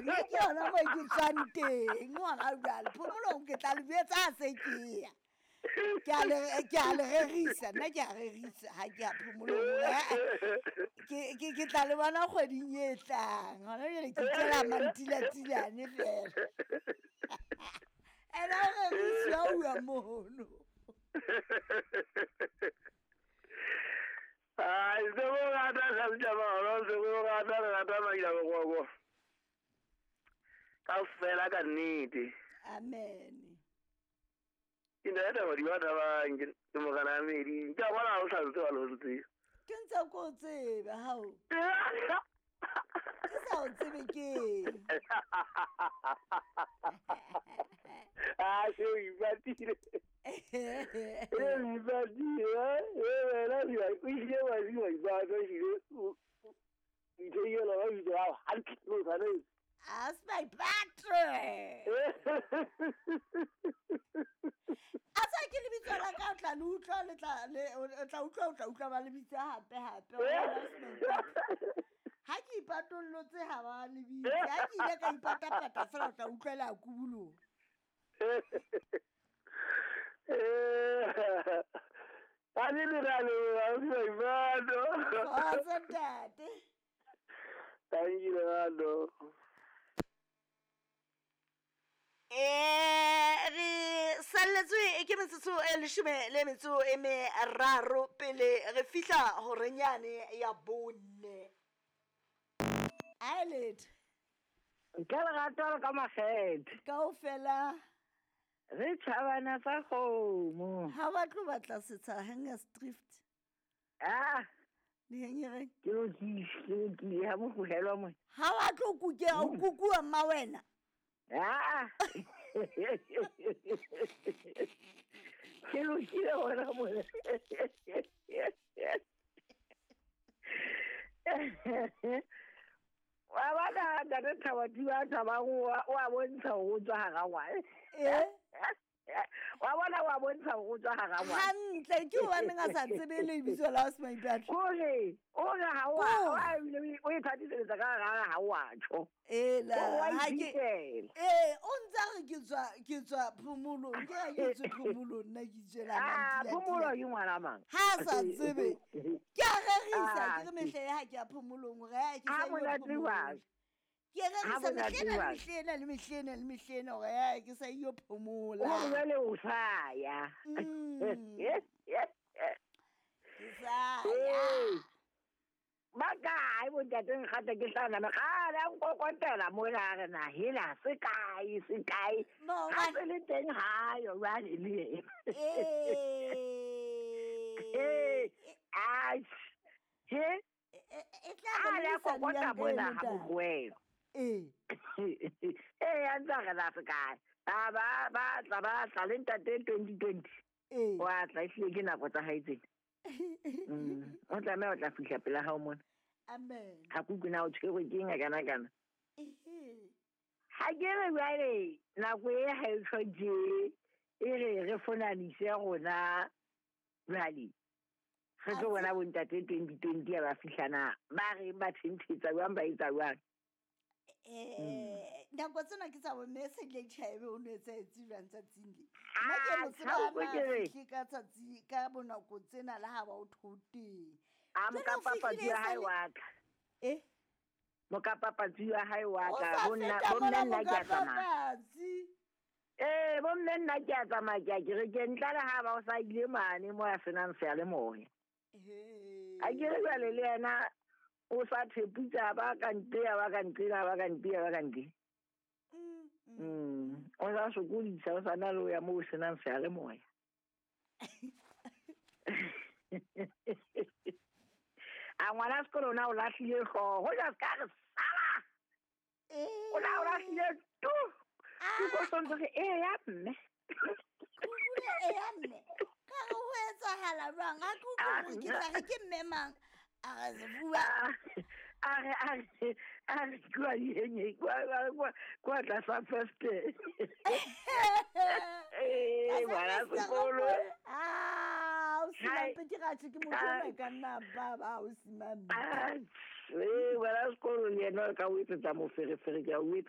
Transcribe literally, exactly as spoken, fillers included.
Nna ke yona mo ke tswang teng hona jwale. Phomolong ke tla le jwetsa ha se ke ya. Ke a le ke a le rerisa, nna ke a rerisa ha ke ya phomolong. Ke ke ke tla le bona kgweding e tlang. Hona jwale ke itjela mantilatilane fela. Ene o rerisiwa ho uwa mono. Ai, se mo rata ga se mo rata re rata Maila. Kaofela ka nnete. Amen. Ke ntate wa di batla bang ke morena Medi. Ke a bona ha o sa ntse wa lo ntse. Ke ntse ko o tsebe hao. Ke sa o tsebe ke. Ah, se o ipatile. E ipatile, eh, wena o ile wa di wa ipata o ile o ithekela ba bitso hao hantle o tshwanetse. As my battery. A sa ke lebitso la ka o tla le utlwa le tla le o tla utlwa o tla utlwa ba le bitsa hape hape. Ha ke ipatollotse ha ba le bitse. Ha ke ile ka ipatapata fela o tla utlwela kubulong. Eh. Ani le ra le wa o ipato. Kgotso ntate. Thank you, Lerato. Eh, re salletswe ke metsotso e leshome le metso e meraro pele re fihla horenyane ya bone. Alet. Ka lerato le ka makgethe. Kaofela. Re tjhabana sa kgomo. Ha ba tlo batla setsha Hengersdrift. Ah. Di Ke lokile, ke lokile ha mo tlohelwa mona. Ha wa tlo kukea o kukuwa mma wena. Ah. Ke lokile hona mona. Wa bona ntate Thabati wa Thabang o a bontsha hore o tswa hara ngwana. Eh? Wa bona wa bontsha hore o tswa hara ngwana. Hantle ke hobaneng a sa tsebe lebitso la Smaipatla. Kore o re ha o a o e thatisetsa ka hara ha o a tjho. Eh la ha ke eh o ntsa re ke tswa ke tswa phomolong ke ha ke tswe phomolong nna ke tswela Ah phomolo ke ngwana mang. Ha sa tsebe. Ke a rerisa ke re mehle ha ke ya phomolong hore ha ke sa yo phomolong. Ke rerisa mehlena le mehlena le mehlena le mehlena hore ha ke sa yo phomola. O jwale o sa ya. Ke sa ya. Ba kae bontate nkgata ke hlana mekgale a nkokotela mona re na hela se kae se kae. Ha se le teng ha yo jwale le yena. Eh. Eh, he e tla ba le kokota mona ha bokwelo. Eh. Eh, a ntsa re la se kae. Ba ba ba tla ba tla le ntate twenty twenty. Eh. Wa tla ehlile ke nako tsa hae tsena. Mm. O tlameha o tla fihla pela hao mona. Amen. Ha ke utlwe na o tshwerwe ke eng kana kana. Ehe. Ha ke re jwale nako e ha e tjho tje e re re fonanise rona jwale. Re tlo bona bontate twenty twenty ba fihla na ba re ba thenthetsa jwang ba etsa jwang. Eh, nako tsena ke tsa bo message le tjhaebe o no etsahetse jwang tsatsing le. Nna ke mo tseba na ka tsatsi ka bonako tsena le ha ba o thoteng. A mokapapatsi wa hae wa ka. Eh? Mokapapatsi wa hae wa ka bo nna bo mme nna ke a tsamaya. Eh, bo mme nna ke a tsamaya ke a kerekeng ntle le ha ba o sa ile mane mo a senang seyalemoya. Eh. A ke re jwale le yena o sa theputsa ba ka ntle ba ka ntle ba ka ntle ba ka ntle. Mm. Mm. O sa sokodisa o sa na le o ya mo o senang seyalemoya. A ngwana sekolo na o lahlile hlooho, ho ja ska re sala. Eh. O la o lahlile tu. Ke go sontse re e ya mme. Kule e ya mme. Ka re ho etsahala jwang? Ha ke utlwe hore ke tla re ke mme mang. A re bua. A re a re a re kwa yenye kwa kwa kwa tlasa first. Eh, ngwana sekolo. Ah, o simampe ke ratse ke motho ona ka nna ba ba o simampe. Ah, eh, ngwana sekolo le yena o ka o etsetsa moferefere ke a o etsa